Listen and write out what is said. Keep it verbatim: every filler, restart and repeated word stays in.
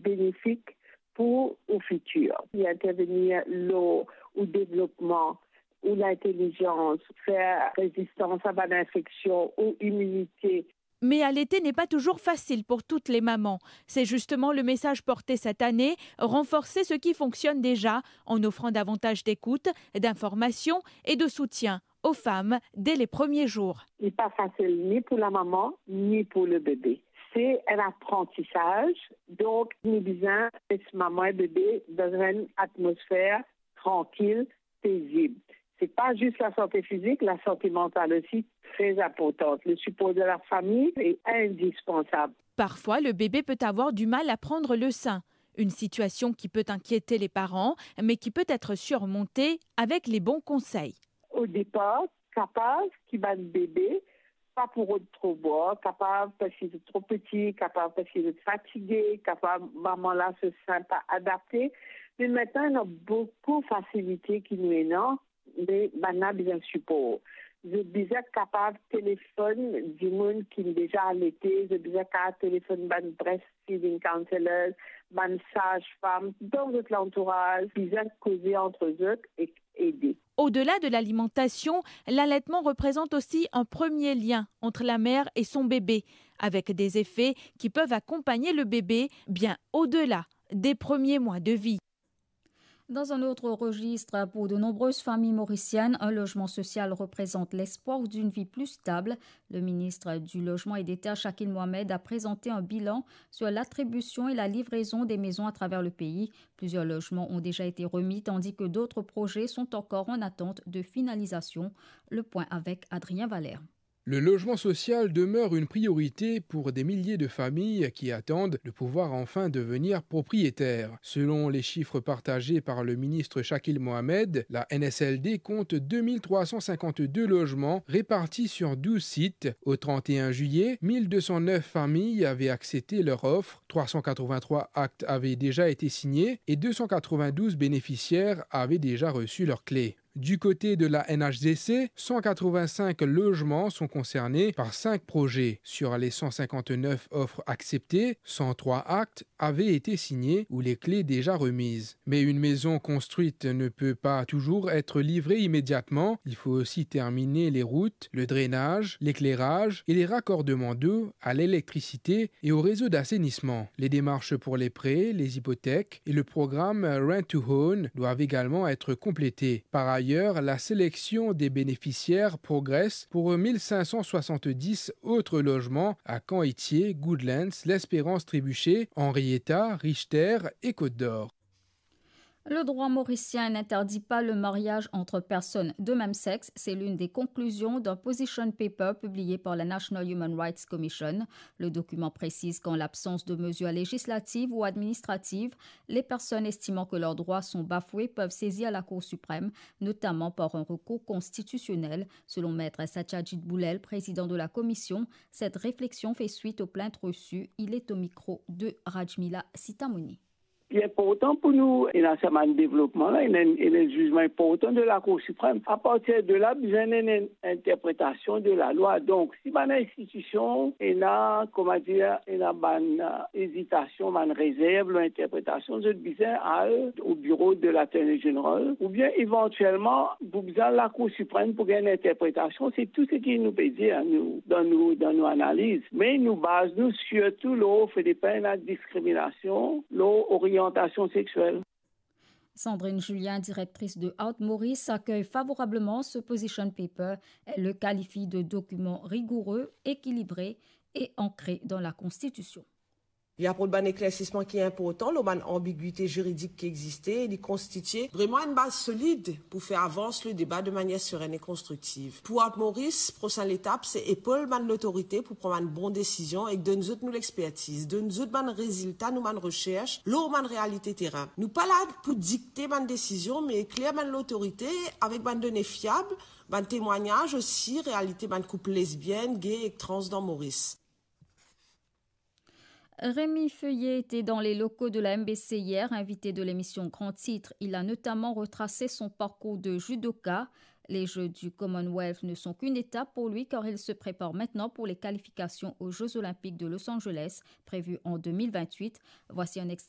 benefik pou ou fitir. Li intervenir lor ou devlopman, ou lintelizans, fer rezistans a bann infeksion, ou iminite. Mais allaiter n'est pas toujours facile pour toutes les mamans. C'est justement le message porté cette année, renforcer ce qui fonctionne déjà en offrant davantage d'écoute, d'information et de soutien aux femmes dès les premiers jours. Li pa fasil ni pou lamama, ni pou lebebe. Se enn aprantisaz, donk nou bizin les mama e bebe dan enn atmosfer trankil, pezib. Se pa zis lasante fizik, lasante mantal osi tre inportan. Le sipor de lafami e indispansab. Parfois, le bébé peut avoir du mal à prendre le sein, une situation qui peut inquiéter les parents, mais qui peut être surmontée avec les bons conseils. O depar, kapav ki bann bebe pa pou rod tro bwar, kapav parski zot tro piti, kapav parski zot fatige, kapav mama la so sin pa adapte. Me aster ena boukou fasilite ki nou ena, me bann la bizin sipor. Zot bizin kapav telefonn dimoun ki deza alete, zot bizin kapav telefonn bann breastfeeding counselors, bann saz-fam dan zot lantouraz, bizin koze ant zot e ede. Au-delà de l'alimentation, l'allaitement représente aussi un premier lien entre la mère et son bébé, avec des effets qui peuvent accompagner le bébé bien au-delà des premiers mois de vie. Dans un autre registre, pour de nombreuses familles mauriciennes, un logement social représente l'espoir d'une vie plus stable. Le ministre du Logement et des Terres, Shakil Mohamed, a présenté un bilan sur l'attribution et la livraison des maisons à travers le pays. Plusieurs logements ont déjà été remis, tandis que d'autres projets sont encore en attente de finalisation. Le point avec Adrien Valère. Le logement social demeure une priorité pour des milliers de familles qui attendent de pouvoir enfin devenir propriétaires. Selon les chiffres partagés par le ministre Shakil Mohamed, la N S L D compte deux mille trois cent cinquante-deux logements répartis sur douze sites. Au trente et un juillet, mille deux cent neuf familles avaient accepté leur offre, trois cent quatre-vingt-trois actes avaient déjà été signés et deux cent quatre-vingt-douze bénéficiaires avaient déjà reçu leurs clés. Du côté de la N H D C, cent quatre-vingt-cinq logements sont concernés par cinq projets. Sur les cent cinquante-neuf offres acceptées, cent trois actes avaient été signés ou les clés déjà remises. Mais une maison construite ne peut pas toujours être livrée immédiatement. Il faut aussi terminer les routes, le drainage, l'éclairage et les raccordements d'eau à l'électricité et au réseau d'assainissement. Les démarches pour les prêts, les hypothèques et le programme Rent to Own doivent également être complétées. Par ailleurs, la sélection des bénéficiaires progresse pour mille cinq cent soixante-dix autres logements à Camp Itié, Goodlands, L'Espérance Trébuchet, Henrietta, Richter et Côte d'Or. Le droit mauricien n'interdit pas le mariage entre personnes de même sexe. C'est l'une des conclusions d'un position paper publié par la National Human Rights Commission. Le document précise qu'en l'absence de mesures législatives ou administratives, les personnes estimant que leurs droits sont bafoués peuvent saisir la Cour suprême, notamment par un recours constitutionnel. Selon Maître Satyajit Boulel, président de la commission, cette réflexion fait suite aux plaintes reçues. Il est au micro de Rajmila Sitamoni. Li inportan pou nou, ena sa bann devlopman la, ena, ena zizman inportan de la Cour suprême. Apartir de la, bizin ena enn interpretasion de lalwa. Donk, si bann institision ena, kouma dir, ena bann, euh, ezitasion, bann rezerv lor interpretasion, zot bizin al o biro de l'Attorney General, oubien evantielman, pou bizin Lakour Siprem pou gagn interpretasion. Se tou seki nou pe dir, nou, dan nou, dan nou analiz. Me nou baz nou sirtou lor fode pa ena diskriminasion lor oriantasion sexiel. Sandrine Julien, directrice de Art Maurice, accueille favorablement ce position paper. Elle le qualifie de document rigoureux, équilibré et ancré dans la Constitution. Li aport bann eklersisman ki inportan lor bann anbigwite ziridik ki existe e li konstitie vreman enn baz solid pou fer avans le deba de manier seren e konstriktiv. Pou Art Maurice, prosin letap se epol bann lotorite pou pran bann bon desizion ek donn zot nou lexpertiz, donn zot bann rezilta nou bann reserch lor bann realite terin. Nou pa la pou dikte bann desizion, me ekler bann lotorite avek bann done fiab, bann temwagnaz osi, realite bann koup lesbienn, gay ek trans dan Moris. Rémi Feuillet était dans les locaux de la M B C hier, invité de l'émission Grand Titre. Il a notamment retracé son parcours de judoka. Les Jeux du Commonwealth ne sont qu'une étape pour lui car il se prépare maintenant pour les qualifications aux Jeux Olympiques de Los Angeles, prévues en deux mille vingt-huit. Voici un extrait